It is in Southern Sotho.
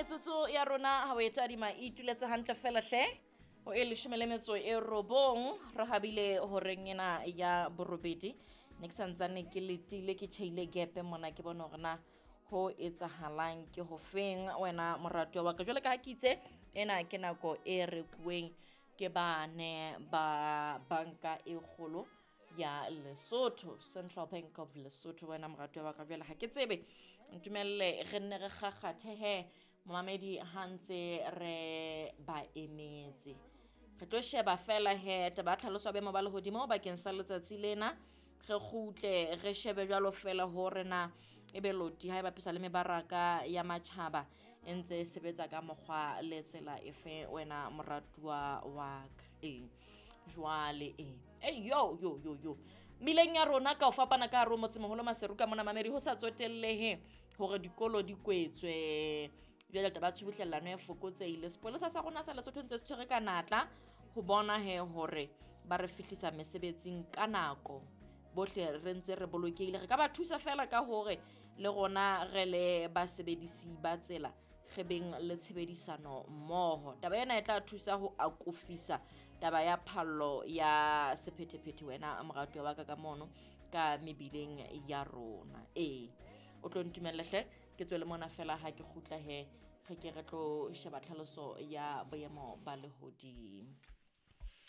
Metsotso ya rona ha o e tadima e ituletse hantle fela hle ho e 19 re habile horeng ena ya borobedi. Ne ke santsane ke letile, ke tjheile gepe mona, ke bone hore na ho etsahalang ke ho feng wena moratuwa wa ka. Jwale ka ha ke itse ena ke nako e rekuweng ke bane ba banka e kgolo ya Lesotho, Central Bank of Lesotho. Wena moratuwa wa ka, jwale ha ke tsebe, ntumelle re nne re kgakgathe he momamedi ha ntse re ba emetse. Re tlo sheba fela he taba ya tlhaloso ya boemo ba lehodimo bakeng sa letsatsi lena, re kgutle re shebe jwalo fela hore na ebe loti ha e bapiswa le mebaraka ya matjhaba e ntse e sebetsa ka mokgwa le tsela efe wena moratuwa wa ka. Ee jwale e yo yo yo yo mmileng ya rona ka ho fapana ka hare ho motsemoholo Maseru ka mona mamedi, ho sa tsotellehe hore dikolo di kwetswe, jwale taba ya tshubuhlellano e fokotsehile. Sepolesa sa rona sa Lesotho ntse se tshwere ka natla ho bona he hore ba re fihlisa mesebetsing ka nako, bohle re ntse re bolokehile. Re ka ba thusa fela ka hore le rona re le basebedisi ba tsela re beng le tshebedisano mmoho. Taba ena e tla thusa ho akofisa taba ya phallo ya sephethephethe wena moratuwa wa ka ka mono ka mebileng ya rona. Ee, o tlo ntumelle hle ke tswele mona fela ha ke kgutla he re ke re tlo sheba tlhaloso ya boemo ba lehodimo.